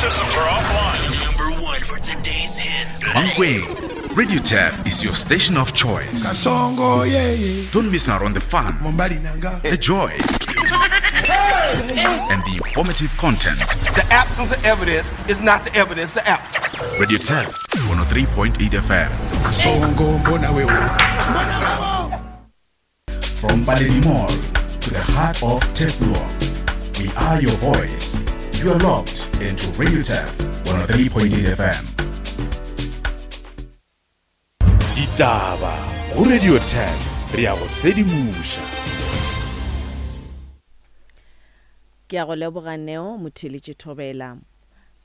Systems are offline. Number one for today's hits. Mankweng, Radio Turf is your station of choice. Kasongo yeah, yeah. Don't miss out on the fun, Mobali nanga. the joy, and the informative content. The absence of evidence is not the evidence of absence. Radio Turf 103.8 FM. Kasongo mbona wewe. From Baledi Mall to the heart of Teflon, we are your voice. You are locked into Radio Turf 103.8 FM. Ditaba go Radio 10 re a go sedimoša. Ke a go leboga Neo Motheeletši Thobela.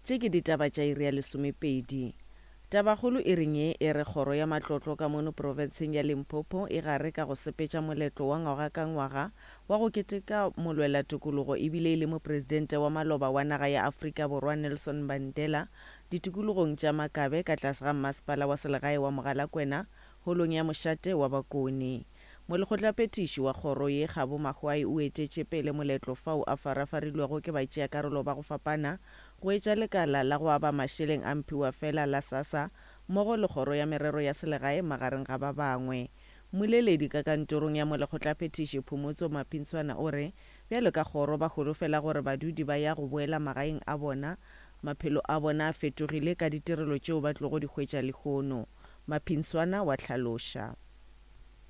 Tše ke ditaba tša iri ya lesomepedi. Tabakgolo e reng ye e re kgoro ya matlotlo ka mono profenseng ya Limpopo e gare ka go sepetša moletlo wa ngwaga ka ngwaga wa go keteka molwela tokologo ebile e le mopresidente wa maloba wa naga ya Afrika Borwa Nelson Mandela ditikologong tša Makabe ka tlase ga mmasepala wa selegae wa Mogalakwena holong ya mošate wa Bakone. Molekgotlaphethiši wa kgoro ye Kgabo Mahwai o etetše pele moletlo fao a farafarilwego ke batšeakarolo ba go fapana go etša lekala la go aba mašeleng a mphiwafela la SASSA mmogo le Kgoro ya Merero ya Selegae magareng ga ba bangwe. Mmoleledi ka kantorong ya Molekgotlaphethiši Phomotso Maphintshwana o re bjalo ka kgoro ba holofela gore badudi ba ya go boela magaeng a bona, maphelo a bona a fetogile ka ditirelo tšeo ba tlogo di hwetša lehono. Maphinswana wa hlaloša.